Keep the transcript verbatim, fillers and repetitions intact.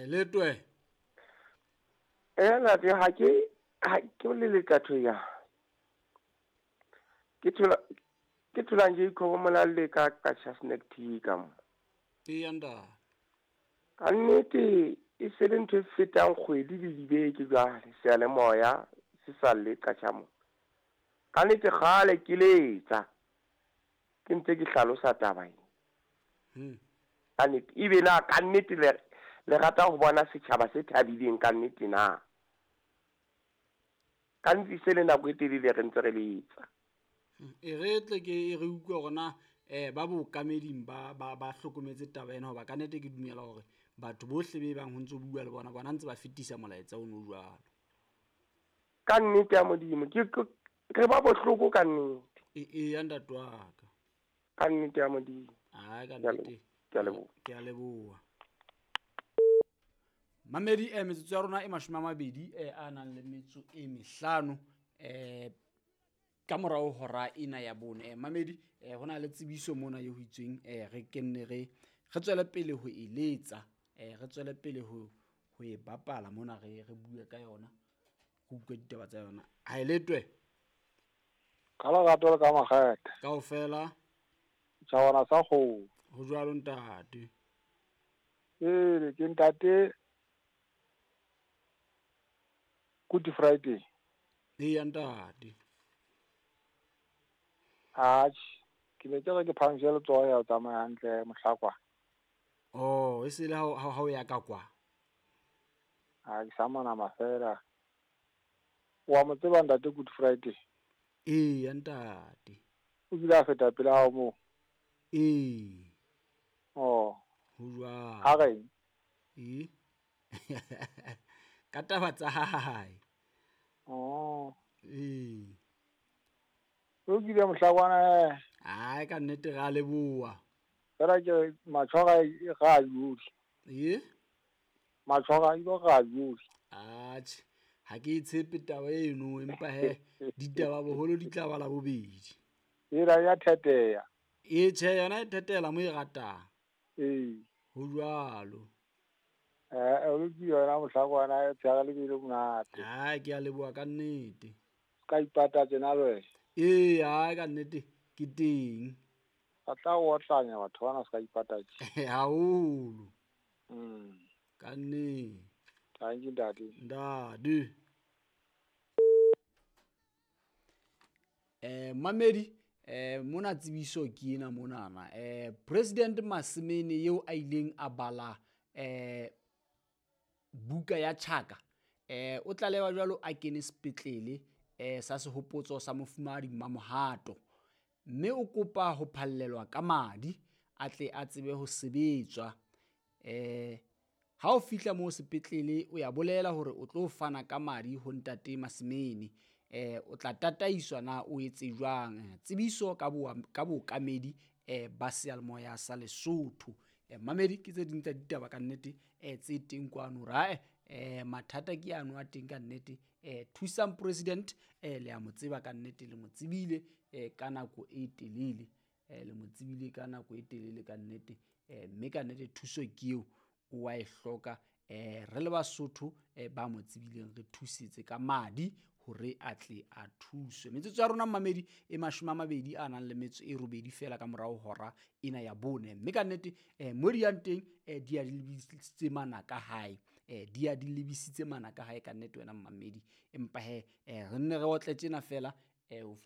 Haeletwe. Eh ntate ha ke ha ke le leqatho ya. Ke thola ke thola nje ikhobo mola le ka ka snack tea ka mo. E anda. Ka nnete e se le ntho e fetang kgwedi le dibeke jwale seyalemoya se sa le qatjha mo. Ka nnete kgale ke letsa. Ke ntse ke hlalosa taba ena. Hmm. Ka nnete ebe na ka nnete le le rata ho bona setjhaba se thabileng ka nnete na. Ka nnete se le nako e telele re ntse re letsa. E re tle ke e re utlwe hore na eh ba bookameding ba ba ba hlokometse taba ena, hoba ka nnete ke dumela hore batho bohle be bang ho ntso bua le bona bona ntse ba fetisa molaetsa ono jwalo. Ka nnete ya Modimo ke re ba bohloko ka nnete. E e ya ntate wa ka. Ka nnete ya Modimo. Ai ka nnete. Ke a leboha. Ke a leboha. Mamedi eh metsotso ya rona e mashome a mabedi eh a nang le metso e mehlano eh ka morao hora ena ya bone. Eh mamedi eh hona le tsebiso mona e ho itsweng eh re kenne re re tswele pele ho eletsa eh re tswele pele ho ho e bapala mona re re bue ka yona go utlwe ditaba tsa yona. Ha eletwe. Ka lerato le ka makgethe. Kaofela. Tjhawana sa kgomo. Ho jwalo ntate. Ee, ke ntate Good Friday. Ee ntate. Atjhe, ke ne ke re ke phahamisa letsoho ya ho tsamaya hantle mohlakwa. Oh, e se le ha ha o ya ka kwa. Ha ke sa manama fela. Wa mo tseba ntate Good Friday? Ee ntate. O kile a feta pele hao moo? Ee. Oh. Ho jwalo. Ha re? Ee. Ka taba tsa hae. Oh. Ee. O kile mohlakwana. Ai ka nnete ra leboha. Fela ke matshwara ga a yohle. Ee? Matshwara ilo ga a yohle. Atjhe, ha ke tshepe taba eno empa he ditaba boholo di tla bala bobedi. Ela ya theteya. E tjhe yona e thetela mo e ratang. Ee. Ho jwalo. Eh o ke yona mohlakwana e tsaya le bile monate. Ai ke a leboha ka nnete. Ka ipata tsena le wena. Ee, ai ka nnete ke teng. Ba tla o otlanya batho bana se ka ipata tje. Haholo. Mm. Ka nnete. Thank you ntate. Ntate. Eh mamedi eh mona tsebiso ke ena monana. Eh President Masimene eo a ileng a bala eh buka ya Chaka eh o tlalewa jwalo a kene sepetlele eh sa sehopotso sa mofumahadi Mamohato, mme o kopa ho phallelwa ka madi a tle a tsebe ho sebetswa. Eh ha o fihla mo sepetlele o ya bolela hore o tlo fana ka madi ho ntate Masimene. Eh o tla tataiswa na o etse jwang. Tsebiso ka bo ka bookamedi eh ba seyalemoya sa Lesotho. Eh mamedi ke tse ding tsa ditaba ka nnete eh tse teng kwano ra eh mathata ke ano a teng ka nnete. Eh thusang president eh le a mo tseba ka nnete, le mo tsebile eh ka nako e telele, eh le mo tsebile ka nako e telele ka nnete. Eh mme ka nnete thuso ke eo o wa e hloka. Eh re le Basotho eh ba mo tsebileng re thusetse ka madi hore a tle a thuswe. Metsotso ya rona mamedi e mashome a mabedi a nang le metso e robedi fela ka morao hora ena ya bone. Mme ka nnete eh mo di yang teng eh di a di lebisitse manaka hae, eh di a di lebisitse manaka hae ka nnete wena mamedi. Empa he eh re nne re otle tjena fela eh ho